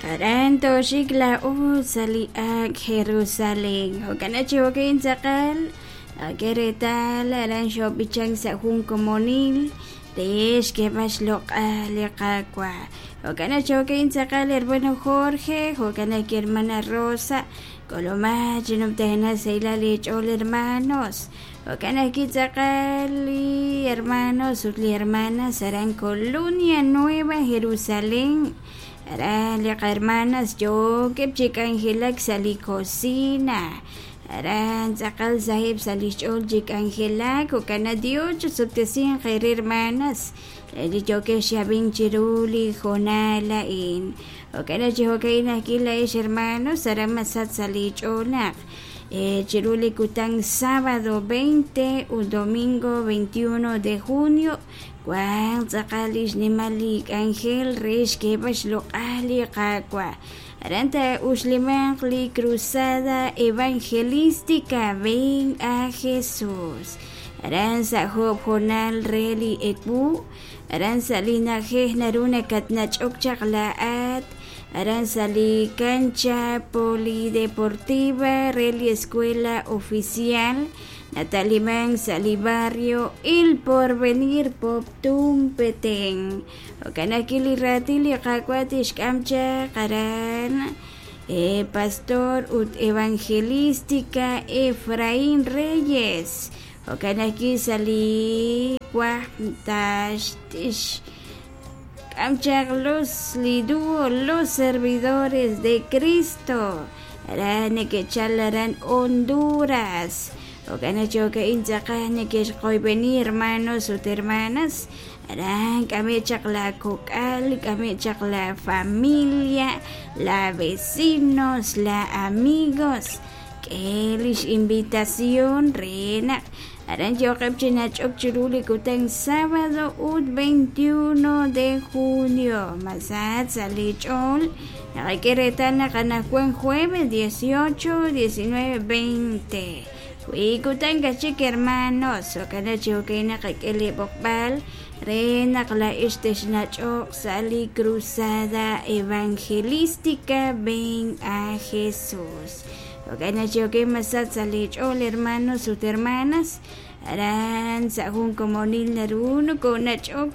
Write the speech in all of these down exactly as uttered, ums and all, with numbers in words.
Aran tooxik laa'o sa' li ak' Jerusalén. Jo'kan chi jo'kan tz'aqal naqak'e reetal aran xoob'ichank sa' jun komonil re xk'eeb'al xloq'al li Qaawa'. Jo'kan chi jo'kan tz'aqal hermano Jorge, jo'kan ajwi' hermana Rosa, k'ulumaq chi numtajenaq sahilal eech'ool hermanos. Jo'kan ajwi' tz'aqal li hermanos ut li hermanas aran Colonia Nueva Jerusalén. Aran li qahermanas yookeb' chi k'anjelak sa' li cocina. Aran tz'aqal saheb' sa' li xch'ool chi k'anjelak. Jo'kan naq Dios chusuttesinq eere hermanas li yookeb' xab'ink chiru li hoonal a'in. Jo'kan naq chi jo'ka'in ajwi' laa'ex hermanos aran masach sa' li ch'ool naq chiru li kutan sábado veinte ut domingo veintiuno de junio wan tz'aqal li xnimal li k'anjel re xk'eeb'al xloq'al li Qaawa'. Aran taa'uxlimanq li cruzada evangelística Ven a Jesús. Aran sa' job' hoonal re li ewu, aran sa' li na'ajej naru nakatnach'ok chaq laa'at, aran sa' li cancha polideportiva re li escuela oficial natalimank sa' li barrio El Porvenir Poptún Petén. Jo'kan ajwi' li raatin li Qaawa' tixk'am chaq aran eh, pastor ut evangelística Efraín Reyes. Jo'kan ajwi' sa' li wajb tax k'am chaq los li dúo los servidores de Cristo. Aran neke'chal aran Honduras. Jo'kan naq jo'ka'in tz'aqal neke'xqoyb'eni hermanos ut hermanas. Aran k'ame' chaq la kok'al, k'ame' chaq la familia, la vecinos, la amigos. K'e lix invitación re naq aran yo'qeb' chi nach'ok chiru li kutan sábado ut veintiuno de junio. Masach sa' li ch'ool naqak'e reetal naq anaqwan jueves dieciocho, diecinueve, veinte. Wi kutan kachik hermanos, jo'kan naq chi jo'kan naqak'e li b'oqb'al re naq laa'ex texnach'oq sa' li cruzada evangelística Ven a Jesús. Jo'kan naq chi jo'kan masach sa' li ch'ool hermanos ut hermanas, aran sa' jun komonil naru nokonach'ok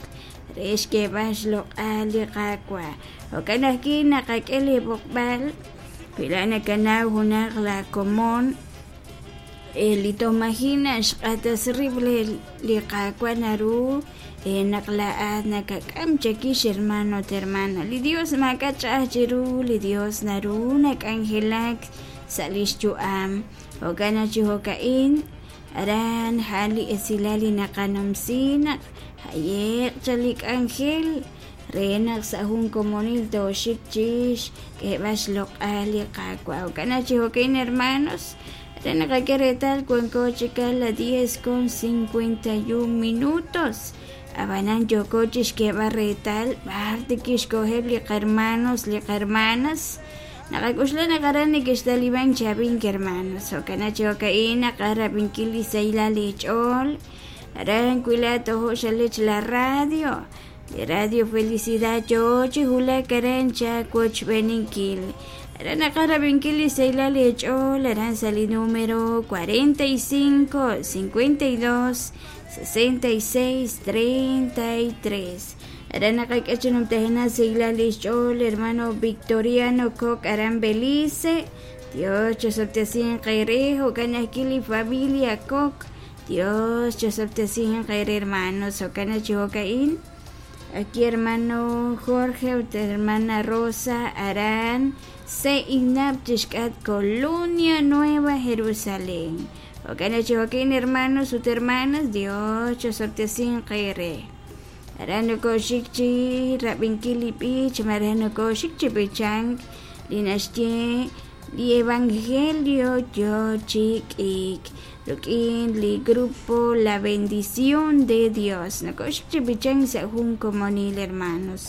re xk'eeb'al xloq'al li Qaawa'. Jo'kan ajwi' naqak'e li b'oqb'al wi laa'at nakanaw junaq la komon li tomajina xq'atas rib' li Qaawa' naru naq laa'at nakak'am chakix hermano ut hermana. Li Dios maak'a' ch'a'aj chiru, li Dios naru nak'anjelak sa' lix yu'am. Jo'kan naq chi jo'ka'in aran ja'an li esilal li naqanumsi naq jaye'q cha li k'anjel re naq sa' jun komonil tooxik chix k'eeb'al xloq'al li Qaawa'. Jo'kan naq chi jo'ka'in hermanos re naqak'e reetal wanko chik a la diez con cincuenta y un minutos. Ab'anan yooko chixk'eeb'al reetal b'ar tikixk'oheb' li qahermanos li qahermanas. Naqak'uxla naq aran neke'xtaliban chab'ink hermanos. Jo'kan naq chi jo'ka'in naqarab'inkil li sahilal li ch'ool. Aran wi laa'at tojo' xalech la radio. Li Radio Felicidad yoo chi wulak aran chawochb'eninkil. Aran naqarab'inkil li sahilal li ch'ool aran sa' li número cuarenta y cinco, cincuenta y dos, sesenta y seis, treinta y tres. Aran naqak'e chi numtajenaq sahilal li xch'ool hermano Victoriano Koch aran Belice. Dios chosoptesinq eere jo'kan ajwi' li familia Koch. Dios chosoptesinq eere hermanos. Jo'kan naq chi jo'ka'in aquí hermano Jorge ut hermana Rosa aran Seinap chixk'at Colonia Nueva Jerusalén. Jo'kan naq chi jo'ka'in hermanos ut hermanas Dios chosoptesinq eere. Aran nokoxik chi rab'inkil li b'ich, maraj nokoxik chi b'ichank li naxye li evangelio yo chi k'iik. Ruk'in li grupo La Bendición de Dios. Nokoxik chi b'ichank sa' jun komonil hermanos.